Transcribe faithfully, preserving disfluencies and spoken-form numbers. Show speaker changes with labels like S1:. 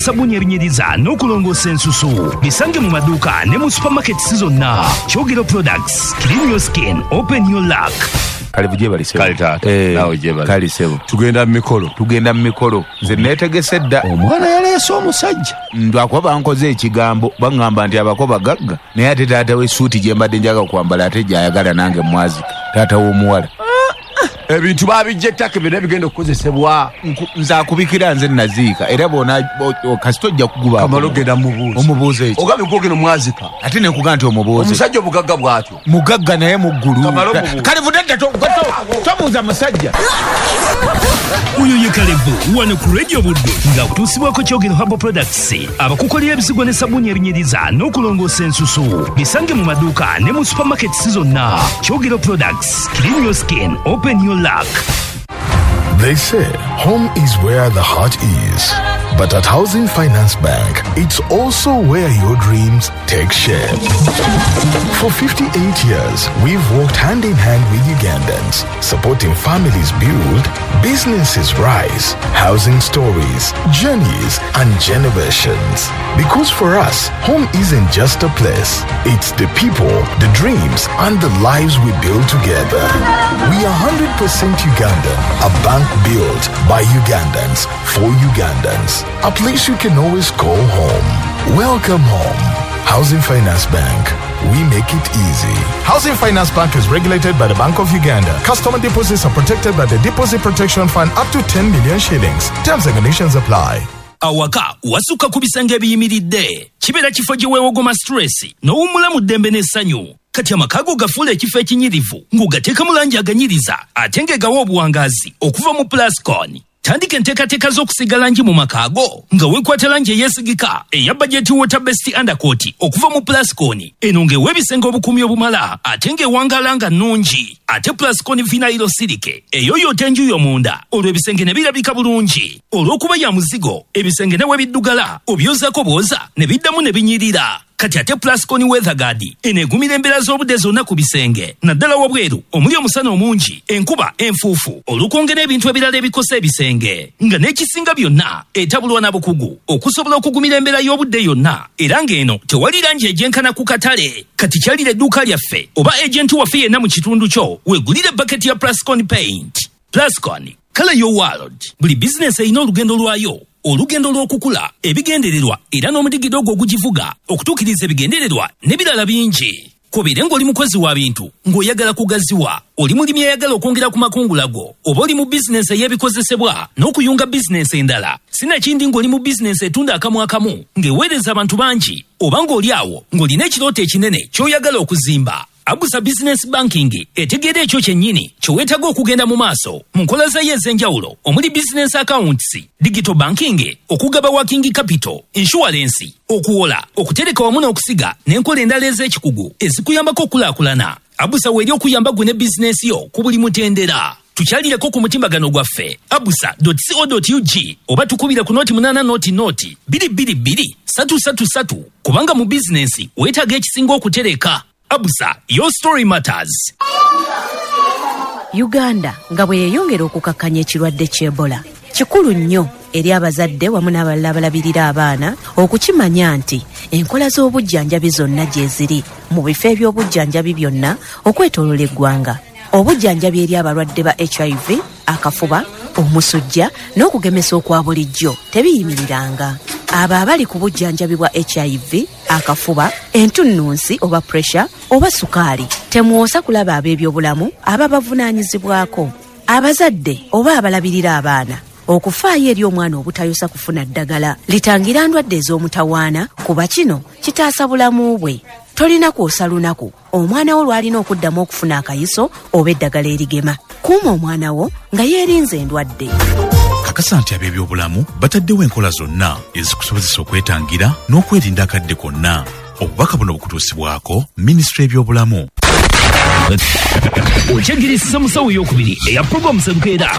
S1: Sabbuuni ebinyiriza n'okulongoosa ensusu bisange mu maduuka ne mu supermarkets zonna. Kyogero Products, clean your skin, open your luck.
S2: Kale gyebali sebo.
S3: Kale taata.
S2: Eh,
S3: naawe gyebali.
S2: Kale sebo.
S3: Tugenda mu mikolo.
S2: Tugenda mu mikolo, nze neetegese dda.
S3: Omwana yaleese omusajja.
S2: Lwakuba bankoze ekigambo, baŋŋamba nti abako bagagga, naye ate taata w'essuuti gye mbadde njaga kwambala ate gy'ayagala nange mwazika, taata w'omuwala.
S3: Ebintu babijja ettaka byonna bigenda okukozesebwa.
S2: Nku- nze akubikira nze naziika era bona kasita ojja kuguba.
S3: Kamala ogenda mubuuza.
S2: Omubuuza eki?
S3: Ogambye gwogenda omwazika.
S2: Ate nekuga nti omubuuze.
S3: Omusajja obugagga bw'atyo.
S2: Mugagga naye muggulu.
S3: Kamala omubuuze.
S2: Kale vudde, tobuuza musajja.
S1: Oyo ye Kalevu wano ku Radio Buddu ng'akutuusibwako Kyogero Herbal Products, abakukolera ebisigwa ne sabbuuni ebinyiriza n'okulongoosa ensusu. Bisange mu maduuka ne mu supermarkets zonna. Kyogero Products, clean your skin, open your luck.
S4: They say home is where the heart is. But at Housing Finance Bank, it's also where your dreams take shape. For fifty-eight years, we've worked hand in hand with Ugandans, supporting families build, businesses rise, housing stories, journeys, and generations. Because for us, home isn't just a place, it's the people, the dreams, and the lives we build together. We are one hundred percent Ugandan, a bank built by Ugandans for Ugandans, a place you can always call home. Welcome home. Housing Finance Bank. We make it easy. Housing Finance Bank is regulated by the Bank of Uganda. Customer deposits are protected by the Deposit Protection Fund up to ten million shillings. Terms and conditions apply.
S1: Awaka wasukka ku bisenge ebiyimiridde, kibeera kifo gye weewogoma stress n'owummula mu ddembe n'essanyu. Kati amaka go gafuula ekifo ekinyirivu ng'ogateekamu langi aganyiriza ate ng'egawa obuwangaazi okuva mu Plascon. Tandika enteekateeka z'okusiiga langi mu maka go nga weekwata langi eyeesigika eya Budget Water Based Undercoat okuva mu Plascon. Eno ng'ewa ebisenge obukuumi obumala ate ng'ewangaala nga nnungi. Ate Plascon Vinyl Silk eyoyoota enju yo munda, olwo ebisenge ne birabika bulungi. Olw'okuba ya muzigo, ebisenge ne we biddugala obyozaako bwoza ne biddamu ne binyirira. Kati ate Plascon Weatherguard eno egumira embeera z'obudde zonna ku bisenge, naddala wabweru omuli omusana omungi, enkuba, enfuufu, olukonge n'ebintu ebirala ebikosa ebisenge. Nga n'ekisinga byonna, etabulwa na bukugu okusobola okugumira embeera y'obudde yonna, era ng'eno tewali langi egyenkana ku katale. Kati kyalira edduuka lyaffe oba agenti waffe yenna mu kitundu kyo weegulire baketi ya Plascon Paint. Plascon, color your world. Buli bizinesi erina olugendo lwayo, olugendo lw'okukula, ebigendererwa era n'omudigido ogwo ogugivuga okutuukiriza ebigendererwa n'ebirala bingi. Kobeere ng'oli mukozi wa bintu ng'oyagala kugaziwa, oli mulimi ayagala okwongera ku makungula go, oba oli mu bizinesi ey'ebikozesebwa n'okuyunga bizinesi endala, sinakindi ng'oli mu bizinesi etunda akamu akamu ng'eweereza abantu bangi, oba ng'oli awo ng'olina ekirooto ekinene ky'oyagala okuzimba, Abusa Business Banking etegeera ekyo kyennyini kye weetaaga okugenda mu maaso mu nkola zayo ez'enjawulo omuli business accounts, digital banking, okugaba working capital, insurance, okuwola, okutereka wamu n'okusiga n'enkola endala ez'ekikugu ezikuyambako okukulaakulana. Abusa weeri okuyamba gwe ne bizinesi yo ku buli mutendera. Tukyalireko ku mutimbagano gwaffe abusa dot co dot ug oba tukubira ku noti munaana noti noti bbiri bbiri bbiri satu satu satu, kubanga mu bizinensi weetaaga ekisinga okutereka. Abusa, your story matters.
S5: Uganda nga bwe yeeyongera okukakkanya ekirwadde ky'Ebola, kikulu nnyo eri abazadde wamu n'abalala abalabirira abaana okukimanya nti enkola z'obujjanjabi zonna gye ziri mu bifo eby'obujjanjabi byonna okwetoolola eggwanga. Obujjanjabi eri abalwadde ba H I V, akafuba, omusujja n'okugemesa okwa bulijjo tebiyimiriranga. Abo abali ku bujjanjabi bwa H I V, akafuba, entunnunsi oba pressure oba sukaali, temwosa kulaba ab'ebyobulamu ababavunaanyizibwako. Abazadde oba abalabirira abaana okufaayo eri omwana obutayosa kufuna ddagala litangira ndwadde ez'omutawaana, kuba kino kitaasa bulamu bwe. Tolina kwosa lunaku omwana wo lw'alina okuddamu okufuna akayiso oba eddagala erigema. Kuuma omwana wo nga yeerinze endwadde.
S6: Kakasa nti ab'ebyobulamu bataddewo enkola zonna ezikusobozesa okwetangira n'okwerinda akadde konna. Obubaka buno bukutuusibwako Minisitule y'ebyobulamu.
S1: Okyagirisiza musawo eyokubiri eya Program Serukeera.